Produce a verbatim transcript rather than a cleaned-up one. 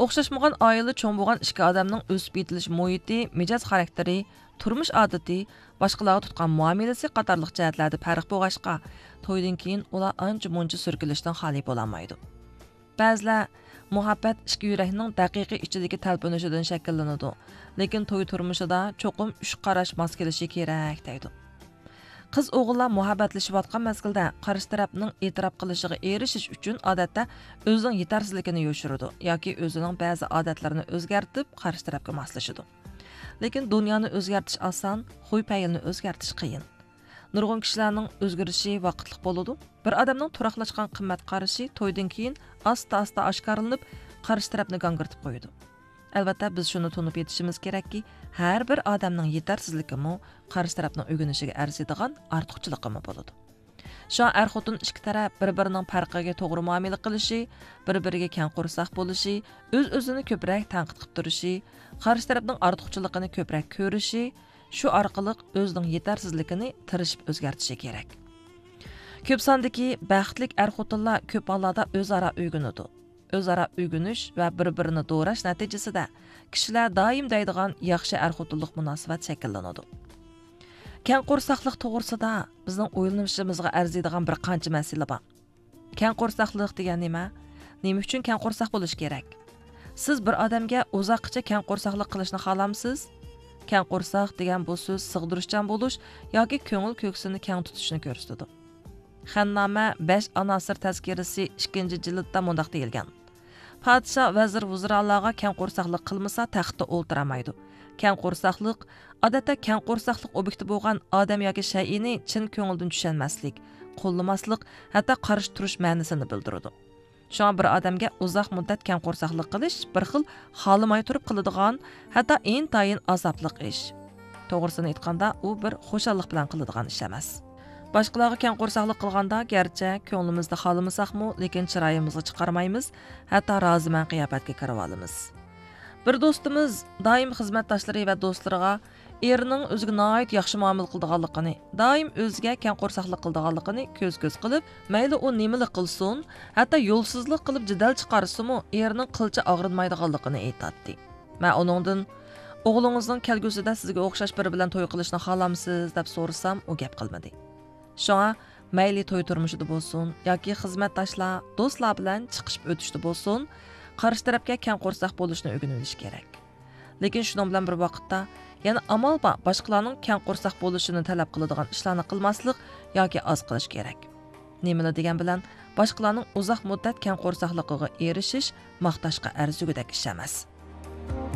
ئوخشاشمىغان ئائىلىدە چوڭ بولغان ئىككى ئادەمنىڭ ئۆسۈپ يېتىلىش مۇھىتى، مىجەز خاراكتېرى، تۇرمۇش ئادىتى، باشقىلارغا تۇتقان مۇئامىلىسى قاتارلىق جەھەتلەردە پەرق بولغاچقا، تويدىن كېيىن ئۇلار ئانچە مۇنچە سۈركىلىشتىن خالىي بولالمايدۇ. بەزىلەر مۇھەببەت ئىككى يۈرەكنىڭ دەقىقىي ئىچىدىكى تەلپۈنۈشىدىن شەكىللىنىدۇ، لېكىن توي تۇرمۇشىدا چوقۇم ئۈچ قاراش ماس كېلىشى كېرەك دەيدۇ. قىز ئوغۇللار مۇھەببەتلىشىۋاتقان مەزگىلدە قارشى تەرەپنىڭ ئېتىراپ قىلىشىغا ئېرىشىش ئۈچۈن ئادەتتە ئۆزىنىڭ يېتەرسىزلىكىنى يوشۇرىدۇ ياكى ئۆزىنىڭ بەزى ئادەتلىرىنى ئۆزگەرتىپ قارشى تەرەپكە ماسلىشىدۇ. لېكىن دۇنيانى ئۆزگەرتىش ئاسان، خۇي پەيلىنى ئۆزگەرتىش قىيىن. نۇرغۇن كىشىلەرنىڭ ئۆزگىرىشى ۋاقىتلىق بولىدۇ. بىر ئادەمنىڭ تۇراقلاشقان قىممەت قارىشى تويدىن كېيىن ئاستا-ئاستا ئاشكارىلىنىپ، قارشى تەرەپنى گاڭگىرىتىپ قويىدۇ. ئەلۋەتتە، بىز شۇنى تونۇپ يېتىشىمىز كېرەككى، ھەر بىر ئادەمنىڭ يېتەرسىزلىكىمۇ، قارشى تەرەپنىڭ ئۆگىنىشىگە ئەرزىيدىغان ئارتۇقچىلىقىمۇ بولىدۇ. شۇڭا ئەر-خوتۇن ئىككى تەرەپ بىر-بىرىنىڭ پەرقىگە توغرا مۇئامىلە قىلىشى، بىر-بىرىگە كەڭ قورساق بولۇشى، ئۆز-ئۆزىنى كۆپرەك تەنقىد قىلىپ تۇرۇشى، قارشى تەرەپنىڭ ئارتۇقچىلىقىنى كۆپرەك كۆرۈشى، شۇ ئارقىلىق ئۆزىنىڭ يېتەرسىزلىكىنى تىرىشىپ ئۆزگەرتىشى كېرەك. كۆپ ساندىكى بەختلىك ئەر-خوتۇنلار كۆپ ھاللاردا ئۆزئارا ئۆگىنىدۇ. ئۆزئارا ئۆگىنىش ۋە بىر-بىرىنى دوراش نەتىجىسىدە كىشىلەر دائىم دەيدىغان ياخشى ئەر-خوتۇنلۇق مۇناسىۋەت شەكىللىنىدۇ. كەڭ قورساقلىق توغرىسىدا بىزنىڭ ئويلىنىشىمىزغا ئەرزىيدىغان بىر قانچە مەسىلە بار. كەڭ قورساقلىق دېگەن نېمە؟ نېمە ئۈچۈن كەڭ قورساق بولۇش كېرەك؟ سىز بىر ئادەمگە ئۇزاققىچە كەڭ قورساقلىق قىلىشنى خالامسىز؟ كەڭ قورساق دېگەن بۇ سۆز سىغدۇرۇشچان بولۇش ياكى كۆڭۈل كۆكسىنى كەڭ تۇتۇشنى كۆرسىتىدۇ. خەننامە بەش ئاناسىر تەزكىرىسى ئىككىنچى جىلدتا مۇنداق دېيىلگەن: پادىشاھ ۋەزىر ۋۇزرالارغا كەڭ قورساقلىق قىلمىسا، تەختتە ئولتۇرالمايدۇ. كەڭ قورساقلىق، ئادەتتە كەڭ قورساقلىق ئوبيېكتى بولغان ئادەم ياكى شەيئىنى چىن كۆڭۈلدىن چۈشەنمەسلىك، قوللىماسلىق، ھەتتا قارشى تۇرۇش مەنىسىنى بىلدۈرىدۇ. شۇڭا بىر ئادەمگە ئۇزاق مۇددەت كەڭ قورساقلىق قىلىش بىر خىل خالىماي تۇرۇپ قىلىدىغان، ھەتتا ئىنتايىن ئازابلىق ئىش. توغرىسىنى ئېيتقاندا، ئۇ بىر خۇشاللىق بىلەن قىلىدىغان ئىش ئەمەس. باشقىلارغا كەڭ قورساقلىق قىلغاندا، گەرچە كۆڭلىمىزدە خالىمىساقمۇ، لېكىن چىرايىمىزغا چىقارمايمىز، ھەتتا رازىمەن قىياپەتكە كىرىۋالىمىز. بىر دوستىمىز دائىم خىزمەتداشلىرى ۋە دوستلىرىغا ئېرىنىڭ ئۆزىگە ناھايىتى ياخشى مۇئامىلە قىلىدىغانلىقىنى، دائىم ئۆزىگە كەڭ قورساقلىق قىلىدىغانلىقىنى كۆز-كۆز قىلىپ، مەيلى ئۇ نېمىلا قىلسۇن، ھەتتا يولسىزلىق قىلىپ جېدەل چىقارسىمۇ، ئېرىنىڭ قىلچە ئاغرىنمايدىغانلىقىنى ئېيتاتتى. مەن ئۇنىڭدىن، «ئوغلىڭىزنىڭ كەلگۈسىدە سىزگە ئوخشاش بىرى بىلەن توي قىلىشىنى خالامسىز؟» دەپ سورىسام، ئۇ گەپ قىلمىدى. شۇڭا، مەيلى توي تۇرمۇشىدا بولسۇن ياكى خىزمەتداشلار، دوستلار بىلەن چىقىشىپ ئۆتۈشتە بولسۇن، قارشى تەرەپكە كەڭ قورساق بولۇشنى ئۆگىنىۋېلىش كېرەك. لېكىن شۇنىڭ بىلەن بىر ۋاقىتتا، يەنە ئامال بار باشقىلارنىڭ كەڭ قورساق بولۇشىنى تەلەپ قىلىدىغان ئىشلارنى قىلماسلىق ياكى ئاز قىلىش كېرەك. نېمىلا دېگەن بىلەن، باشقىلارنىڭ ئۇزاق مۇددەت كەڭ قورساقلىقىغا ئېرىشىش ماختاشقا ئەرزىگۈدەك ئىش ئەمەس.